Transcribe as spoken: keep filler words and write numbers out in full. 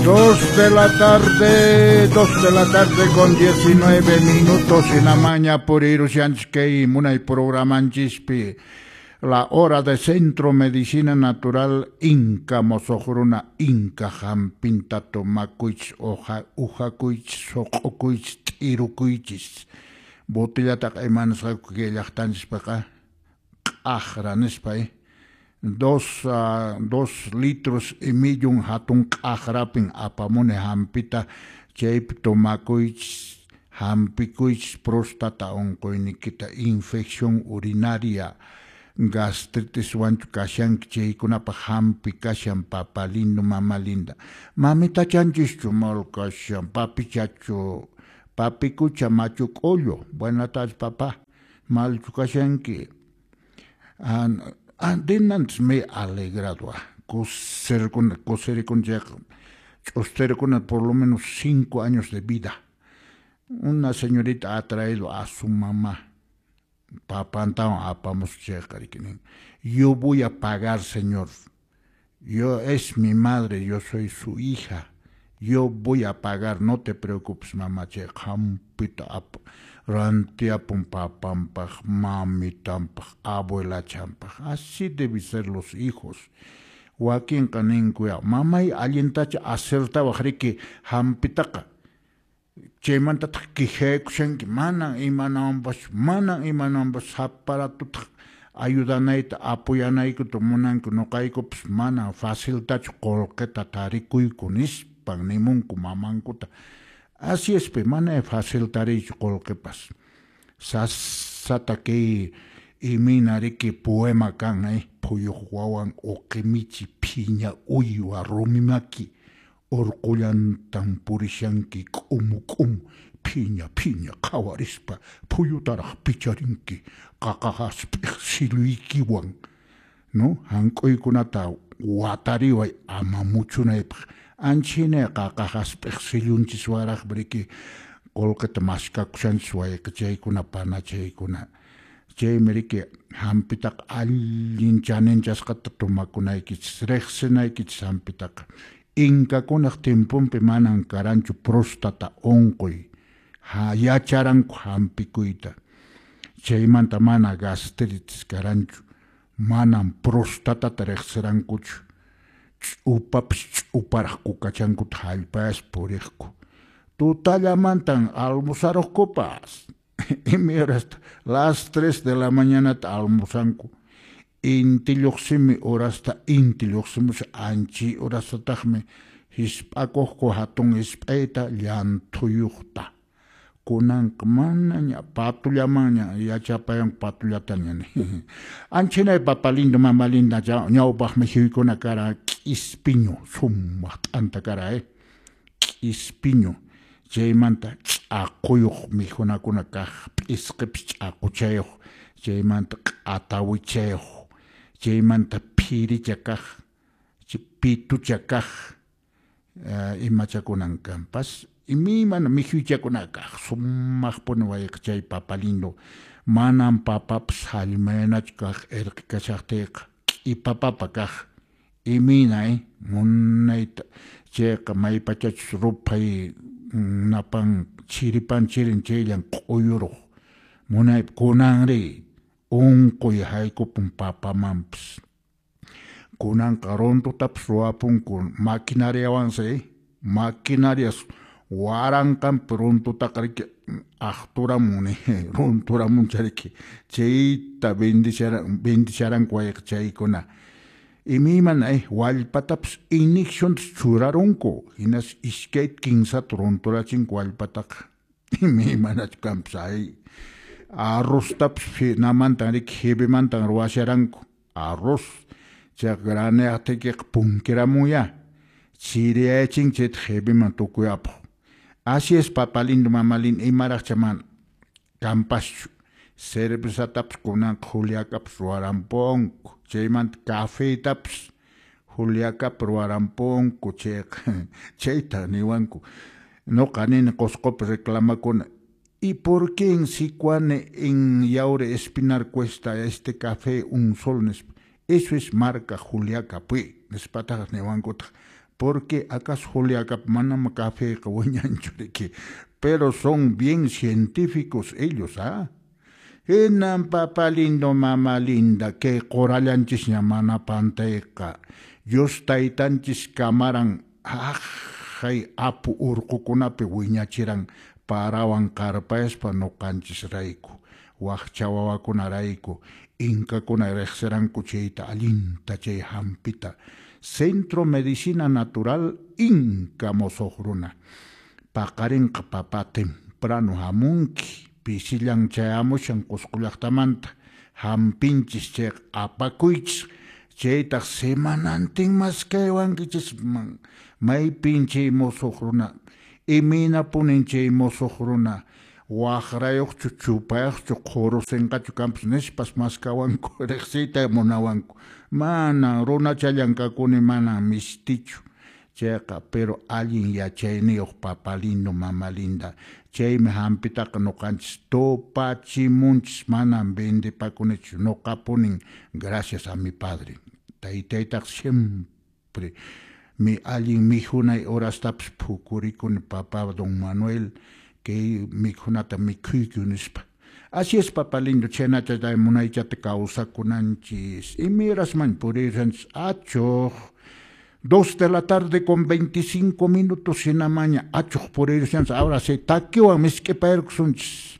Dos de la tarde, dos de la tarde con diecinueve minutos en la mañana por Irushanchkei, munay programanchispi. La hora de Centro Medicina Natural Inca Mosojruna Inca Jampinta Tomakuich Oja Ujakuich Soqokuich T'irukuichis. Botellataqa imanasqaku kay llaqtanchispaqa q'aqra nispa eh. Dos, uh, dos litros y millón hatun q'aqrapin apamuni hampita chaypi tomakuychis hampikuychis próstata unquynikita infección urinaria gastritis wanchu kashanki chaykunapaq hampi kashan papa lindo mama linda mamitachanchishchu mal kashan papichachu papikucha machu k'ullu buenas tardes papá malchu kashanki. An, an, denantes me he alegrado coser con coser con ch'usterikuna por lo menos cinco años de vida. Una señorita ha traído a su mamá papantawan apamusqa chayqa riki nin yo voy a pagar, señor, yo es mi madre, yo soy su hija, yo voy a pagar, no te preocupes, mamá. Chayqa hampita ap rantiapun papanpaq mamitanpaq abuelachanpaq. Así deben ser los hijos. Wakinqa ninkuya mamay allintacha acertawaq riki hampitaqa chaymantataq quejaykushanki manan imanawanpas manan imanawanpas saparatutaq ayudanayta apoyanaykuta munanku nuqaykupas manan faciltachu qullqita tarikuyku nispan nimunku mamankuta. Así es pe, mana fácil tariychu qullqipas. Sasata kay imina riki poema kan eh phuyuq wawan uqimichi phiña uywa rumimaki urqullantan purishanki k'umu k'umu phiña phiña qhawarispa phuyutaraq picharinki qaqa hasp'iq silluykiwan, no hank'uykunata watariway ama muchunaypaq anchhina qaqa hasp'iq sillunchis riki qullqita maskakushanchis wayqichaykuna panachaykuna chaymi riki hampitaqa allin chaninchasqata tomakunaykichis riqsinaykichis hampitaqa. Inkakunaq tiemponpi manan karanchu próstata unquy ha yacharanku hampikuyta chaymanta mana gastritis karanchu manan prostatata riqsirankuchu ch'upapas ch'uparaq kukachankuta hallpayaspa puriqku tutallamantan almusaruqkupas imay horasta las tres de la mañanata almusanku inti lluqsimi horasta inti lluqsimusha anchi horastataqmi hisp'akuqku hatun hisp'ayta llanthuyuqta kunanqa manaña patullamanña yachapayanku patullataña anchinay papa lindo mama linda ñawpaq mijuykuna kara k'ispiñu sumaq t'anta kara eh k'ispiñu chaymanta ch'aquyuq mijunakuna kaq p'isqipis ch'aquchayuq chaymanta q'atawichayuq chaymanta phiricha kaq pitucha kaq imachakunan kanpas imaymana mikhuychakuna kaq sumaqpuni wayqichay papa lindo manan papapas hallmayanachu kaq irqi kashaqtiyqa k'ipa papa kaq imayna eh munayta chayqa maypachachus ruphay napan chiripan chirin chayllan q'uyuruq munaypi kunanri unquy haykupun papamanpas kunanqa runtutapas ruwapunku maquinariawansi maquinarias waranqanpi runtutaqa riki aqturamun runturamuncha riki chayta bendisharanku wayqichaykuna imaymana eh wallpatapas inyeccionta churarunku hinas iskayta kinsata runturachinku wallpataqa imaymanachu kanpas ay arroztapas namantan riki jibimantan ruwasharanku arroz chayqa graneaqtiykiqa punkiramunya chiriyachinki chayta jibiman tukuyapaq. Así es papa lindo mama linda imaraqcha mana kanpaschu cervezatapas kunanqa Juliacapas ruwarampunku chaymanta cafetapas Juliacapi ruwarampunku chayqa chayta niwanku nuqa nini Qusqupi reclamakuna ¿y por qué en Sicuani, en Yaure Espinar cuesta este café un sol? Eso es marca Juliaca, pues, nispataq niwankutaq Porque acaso Juliacapi manam cafeqa wiñanchu riki? Pero son bien científicos ellos, ¿ah? Hinan, papa lindo, mama linda, kay qurallanchisña mana pantayqa. Dios taytanchis kamaran haqay apu urqukunapi wiñachiran parawan qarpayaspa ñuqanchisrayku, wakcha wawakunarayku, inkakuna riqsiranku chayta allinta chay hampita. Centro Medicina Natural Inca musuq runa. Paqarinqa, papá, temprano hamunki, pisillan chayamushan Qusqu llaqtamanta, hampinchis chayqa apakuychis, chaytaq semanantin maskaywankichisman maypin chay musuq runa, imaynapunin chay musuq runa, waqrayuqchu, chupayuqchu, qhurusinqachu kanpas nispas maskawanku, riqsiyta munawanku. Manan runachallan kakuni, manan mistichu chayqa, pero allin yachayniyuq, papa lindo, mama linda, chaymi hampitaqa ñuqanchis tupachimunchis, manan vendepakunichu ñuqapunin, gracias a mi padre, taytaytaq siempre mi allin mikhunay horastapas phukurikuni, papá don Manuel, kay mikhunata mikhuyku nispa. Así es, papa lindo, chhaynata munaychata kawsakunanchis. Imayrasman purirqanchis achuq dos de la tarde con veinticinco minutos hinamaña achuq purirqanchis. Ahora sí, takiwan misk'ipayarkusunchis.